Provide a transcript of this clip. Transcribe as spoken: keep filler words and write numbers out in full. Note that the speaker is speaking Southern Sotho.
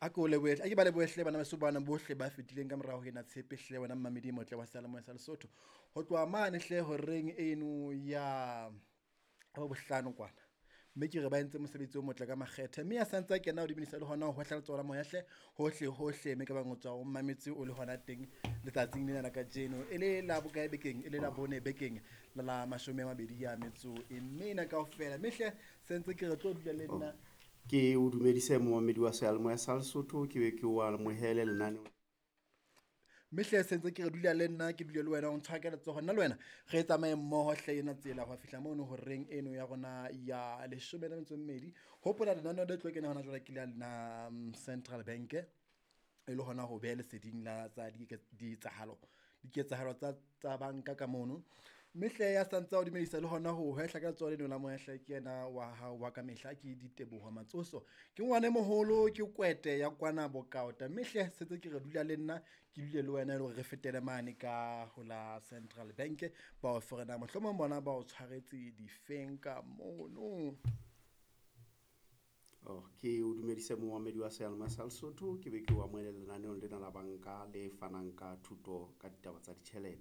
A ke o lebohe, a ke ba lebohe hle bana beso bana bohle ba fetileng ka morao ho ena tshepe hle wena mmamedi e motle wa seyalemoya sa Lesotho. Ho tloha mane hle horeng eno ya bohlano kwana. Mme ke re ba entse mosebetsi o motle ka makgethe, mme ya santse a kena ho dumedisa le hona ho hwehla letsoho la moya hle hohle hohle, mme ka bang o tswa o mametse o le hona teng letsatsing lena la kajeno, e le la bokae bekeng, e le la bone bekeng la la mashome a mabedi a metso e mene kaofela. Mme hle se ntse ke re tlo dula le nna. Ke o dumedise momamedi wa seyalemoya sa Lesotho, ke be ke o amohele lenaneo. Mme hle se ntse ke re dula le nna, ke dule le wena, o ntshware ka letsoho, nna le wena re tsamaye mmoho hle ena tsela ho fihla mono horeng eno ya rona ya leshome le metso e mmedi. Hopola lenaneo le tlo kena hona jwale ke la lena Central Bank, e le hona ho beha leseding la tsa diketsahalo diketsahalo tsa tsa banka ka mono. Mme hle ya santse a o dumedisa le hona ho hwehla ka letsoho leno la moya hle ke yena wa hao wa kamehla, ke Diteboho Matsoso. Ke ngwana e moholo, ke kwete ya kwana Bokaota. Mme hle setse ke re dula le nna, ke dule le wena e le hore re fetele mane ka ho la Central Bank, ba o fe hore na mohlomong bona ba o tshwaretse difeng ka mono. Oh, ke o dumedise momamedi wa seyalemoya sa Lesotho, ke be ke o amohele lenaneong lena la banka le fanang ka thuto ka ditaba tsa ditjhelete.